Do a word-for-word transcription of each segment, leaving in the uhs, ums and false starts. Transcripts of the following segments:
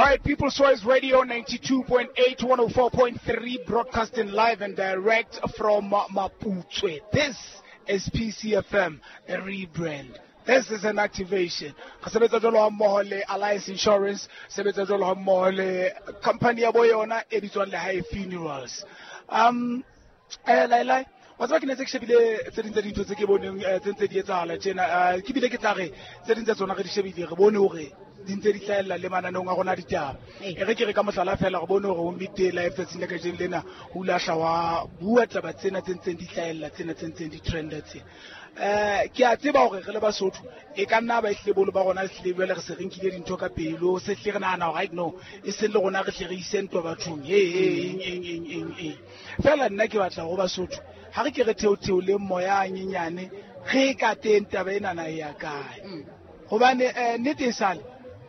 All right, People's Choice Radio ninety-two point eight, one oh four point three, broadcasting live and direct from Maputswe. This is P C F M, the rebrand. This is an activation. Sebetsa jwalo ha mmoho le Alliance Insurance, sebetsa jwalo ha mmoho le company ya bo yona e bitswang Lehae Funerals. Um, eh, Lailai, wa tseba ke ne tse ke shebile tse ding tsa dintho tse ke boneng, eh, tse ntse di etsahala tjena, eh, ke bile ke tla re tse ding tsa tsona re di shebile, re bone hore di ntse di hlahella le mananeong a rona a ditaba. Ee. E re ke re ka mohlala fela, re bone hore ho Midday Live tsatsing la kajeno lena, ho ile ha hla wa bua taba tsena tse ntseng di hlahella, tsena tse ntseng di trenda tsena. Eh, ke a tseba hore re le Basotho, e ka nna ba ehlile boholo ba rona ehlile jwale re se re nkile dintho ka pelo, se hle re nahana hore, right, no, e seng le rona re hle re ise ntwa bathong, he, he, eng, eng, eng, eng, eng. Fela nna ke batla ho Basotho, ha re ke re theotheole moya a nyenyane, re ka teng taba enana e ya kae. Mm. Hobane, eh, nnete e sale,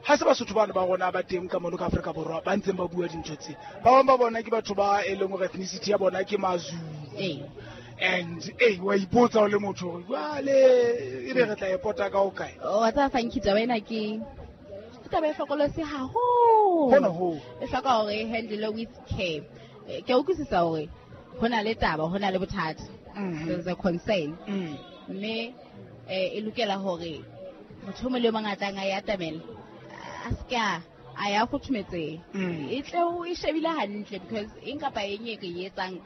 ha se Basotho bana ba rona ba teng ka mono ka Afrika Borwa ba ntseng ba bua dintho tse. Ba bang ba bona ke batho ba e leng hore ethnicity ya bona ke Mazulu. Ee. And, eh, wa ipotsa o le motho hore jwale ebe re tla e pota ka ho kae? Wa tseba, Funky, taba ena ke, ke taba e hlokolosi haholo. Hona hoo. E hloka hore e handle with care. Eh, ke a utlwisisa hore ho na le taba, ho na le bothata. Mm-hmm. There's a concern. Mm. Mme, eh, e lokela hore motho o mong le o mong a tlang a e atamela, a se ke a, a ya kgothometseng. Mm. E tle o e shebile hantle, because eng kapa eng e re e etsang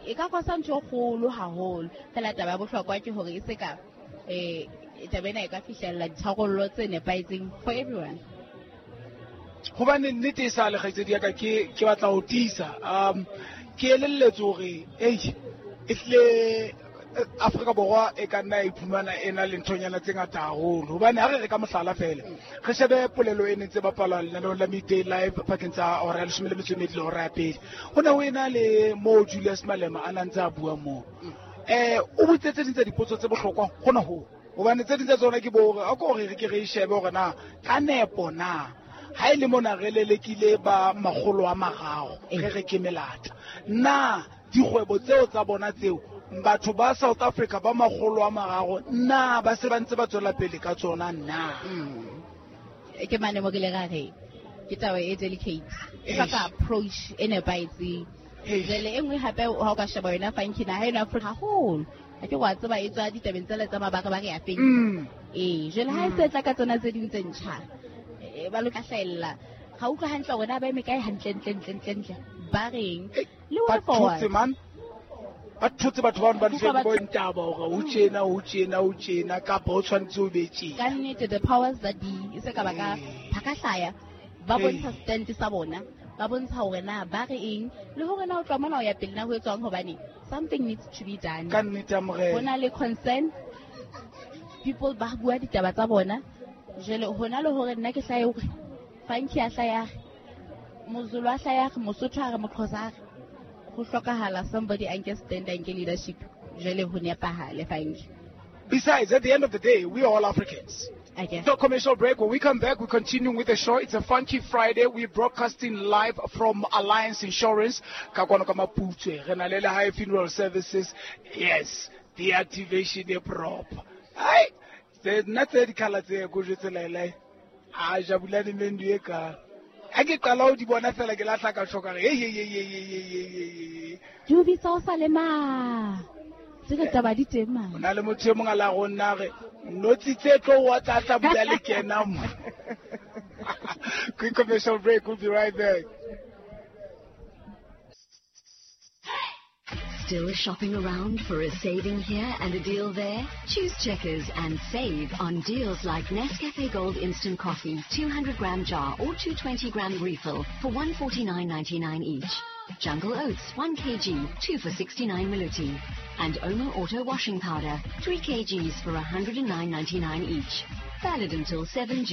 e ka kosa ntho e kgolo haholo. Fela taba ya bohlokwa ke hore e se ka, eh, taba ena e ka fihlella ditharollo tse nepahetseng for everyone. Hobane nnete e sa le kgaitsedi ya ka, ke, ke batla ho tiisa. Um, ke elelletswe hore, ei, e hlile Afrika Borwa e ka nna ya iphumana e na le nthonyana tse ngata haholo. Hobane ha re re ka mohlala fela, re shebe polelo e neng tse bapalwa lenaneong la Midday Live pakeng tsa hora ya leshome le metso e mmedi le hora ya pele. Ho ne ho ena le moo Julius Malema a nang ntse a bua moo. Eh, o botse tse ding tsa dipotso tse bohlokwa hona hoo. Hobane tse ding tsa tsona ke bo hore, a ko re re ke re e shebe hore na ka nepo na ha e le mona re lelekile ba makgolo a mararo, Ee. re re ke melata. Na dikgwebo tseo tsa bona tseo, batho ba South Africa ba makgolo a mararo, na ba se ba ntse ba tswela pele ka tsona na? Mm. Ke mane mo ke le ra re, ke taba e delicate. E Eish. hloka approach e nepahetseng. Eish. Jwale e nngwe hape ha o ka sheba yona Funky, naha eno ya Afrika haholo. Ha ke wa tseba e tswa ditabeng tsela tsa mabaka ba re ya feng. Mm. Ee, jwale ha e se tla ka tsona tse ding tse ntjha, eh, ba lo ka hlahella. Ha utlwa hantle hore na ba eme kae hantle, ntle, ntle, ntle, ntle. Ba reng? Eh, Le ba way forward. thotse, man. Ba thotse batho ba ba Utlwa ntse batho- ba ntaba hore ho tjena, ho tjena, ho tjena, kapa ho tshwanetse ho be tjena. Ka nnete, the powers that be, e se ka ba ka Ee. ba ka hlaya, ba Ee. bontsha stand sa bona, ba bontsha hore na ba re eng, le hore na ho tloha mona ho ya pele na ho etswang, hobane something needs to be done. Ka nnete ya morena. Ho na le concern, people ba bua ditaba tsa bona. Jwale hona le hore nna ke hlahe hore Funky a hlahe a re, Mozulu a hlahe a re, Mosotho a re, Moxhosa a re, ho hlokahala somebody a nke stand, a nke leadership. Jwale ho nepahale, Funky. Besides, at the end of the day, we are all Africans. Okay. So commercial break. When we come back, we're continuing with the show. It's a Funky Friday. We're broadcasting live from Alliance Insurance. Ka kwano ka Maputswe. Re na le Lehae Funeral Services. Yes, the activation is proper. Ai, tse nna tse dikhala tse ko jwetse Lailai. A Jabulani Mendu e ka. Ha ke qala ho di bona fela ke lahla ka shoka re, hey, hey, hey, hey, hey, hey, hey, hey, hey. Di o bitsa o sa le ma. Tse re taba di teng ma. Ho na le motho e mong a la go nna re, notsi tse tlo wa tla tla bula le kena mo. Quick commercial break, we'll be right back. Still shopping around for a saving here and a deal there? Choose Checkers and save on deals like Nescafe Gold Instant Coffee, two hundred gram jar or two twenty gram refill for one forty-nine ninety-nine each. Jungle Oats, one kilogram, two for sixty-nine Maluti. And Omo Auto Washing Powder, three kilograms for a hundred and nine ninety-nine each. Valid until seven June.